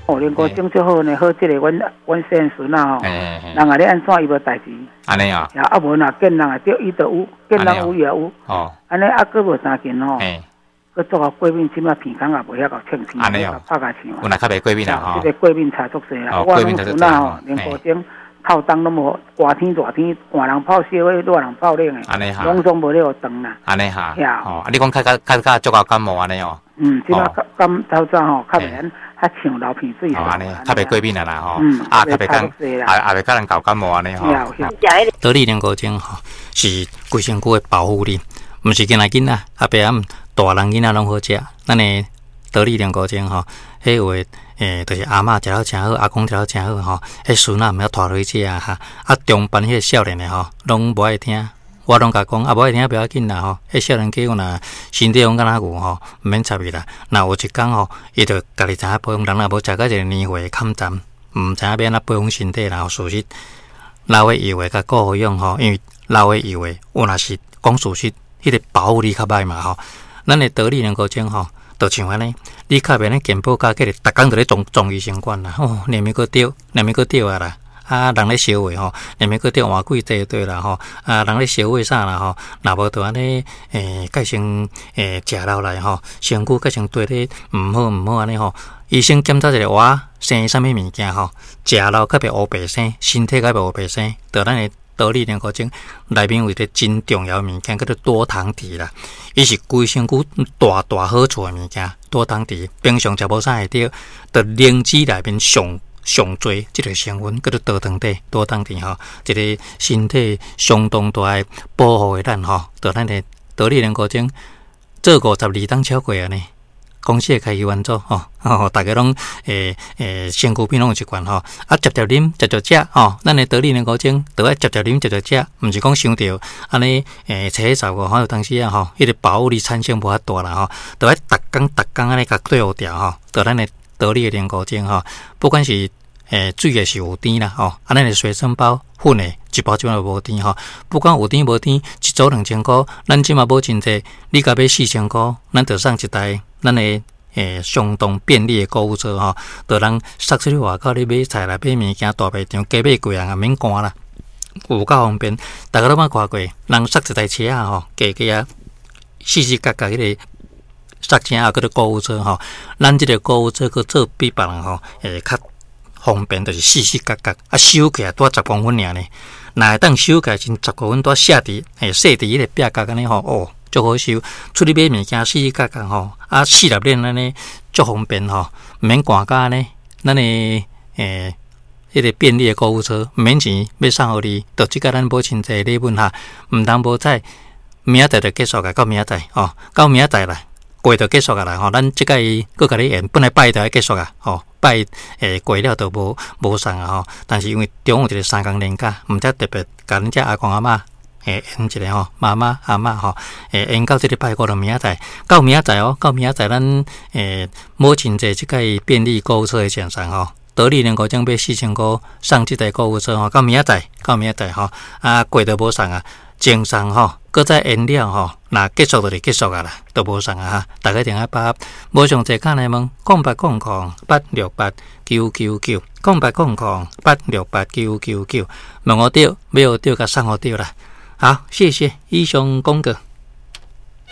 哦，龍骨精足好呢，好這个阮阮細漢孫仔吼，人啊咧按怎伊無代誌。按呢啊。啊無若見人會著伊就有，見人有伊也有。按呢啊，閣無三件吼。閣做予過敏，這馬鼻孔也袂曉夠清氣，按呢哦，拍共唱。有若較袂過敏啊吼。這个過敏差足濟啦，我攏孫仔吼，龍骨精透冬攏無，寒天熱天，寒人泡燒的，熱人泡冷的，攏總無咧予凍啦。按呢哈。哦，啊，你講較較較較足夠感冒按呢哦。嗯，這馬感透早吼，較袂按較像流鼻水。哦，按呢，較袂過敏啊啦吼。啊，較袂講，也也袂共人搞感冒按呢吼。多利龍骨精吼，是規身軀的保護力，毋是干焦囡仔，阿伯仔大人囡仔攏好食。咱的多利龍骨精吼，彼有的就是阿嬤食了誠好，阿公食了誠好吼，彼孫仔毋曉拖落去食哈。啊，中班彼个少年的吼，攏無愛聽。我攏共講，啊，無愛聽不要緊啦吼。彼少年家有若身體攏敢若牛吼，毋免插伊啦。若有一工吼，伊就家己知影保養，人若無食到一个年歲坎站，毋知影欲按怎保養身體啦。事實老的油的共顧好養吼，因為老的油的有若是講事實，彼个保護力較歹嘛吼。咱的多利龍骨精吼，就像按呢，你較袂咧健保卡，計逐工就咧撞撞醫生館啦，吼，連物閣著，連物閣著啊啦。啊，人咧燒話吼，連物閣著換幾濟對啦吼。啊，人咧燒話啥啦吼，若無就按呢，改成食落來吼，身軀改成對咧毋好毋好按呢吼。醫生檢查一个活生啥物物件吼，食落較袂烏白生，身體較袂烏白生，就咱的多利龍骨精內面有一个真重要的物件，叫做多糖體啦。伊是規身軀大大好處的物件，多糖體平常食無啥會著，就靈芝內面上上濟這个成分叫做多糖體，多糖體吼，一个身體相當大的保護的咱吼，就咱的多利龍骨精做52冬超過啊呢。公司的開始運作吼，吼，逐家攏身軀邊攏有一罐吼，啊，捷捷啉，捷捷食吼，咱的多利龍骨精，著愛捷捷啉，捷捷食，毋是講傷著按呢7月15吼，有當時啊吼，彼个保護力產生無法大啦吼，著愛逐工逐工按呢共對付掉吼，著咱的多利的龍骨精吼，不管是水的是有甜啦吼，啊，咱的隨身包粉的一包這馬無甜吼，不管有甜無甜，一組2000箍，咱這馬無真濟，你共買4000箍，咱就送一台咱的相當便利的購物車吼，就人塞出去外口咧買菜啦、買物件、大賣場加買幾樣也免趕啦，有夠方便。逐家攏捌看過，人塞一台車仔吼，加加啊，四四角角彼个塞車啊，叫做購物車吼。咱這个購物車閣做比別人吼，會較方便，就是四四角角啊，收起來拄10公分爾呢。若會當收起來剩十公分，拄寫佇設佇彼个壁角按呢吼，哦，足好收。出去買物件四四角角吼，啊，四粒鏈按呢足方便吼，毋免趕甲按呢。咱的彼个便利的購物車，毋免錢，欲送予你，就這個咱母親節禮物哈，毋通無彩，明仔載就結束啊，到明仔載吼，到明仔載啦，過就結束啊啦吼。咱這擺閣共你延，本來拜一就愛結束啊，吼，拜過了就無無送啊吼。但是因為中有一個3工連假，毋才特別共恁遮阿公阿嬤延一下吼，媽媽阿嬤吼，延到這個拜五就明仔載，到明仔載哦，到明仔載咱母親節這擺便利購物車的贈送吼，多利龍骨精買4000箍送這台購物車吼，到明仔載，到明仔載吼，啊過就無送啊，贈送吼，閣再延了吼，若結束就是結束啊啦，都無送啊哈，逐家一定愛把握。無上濟，敲來問0800868999，0800868999，問予著，買予著，共送予著啦。好，謝謝，以上廣告。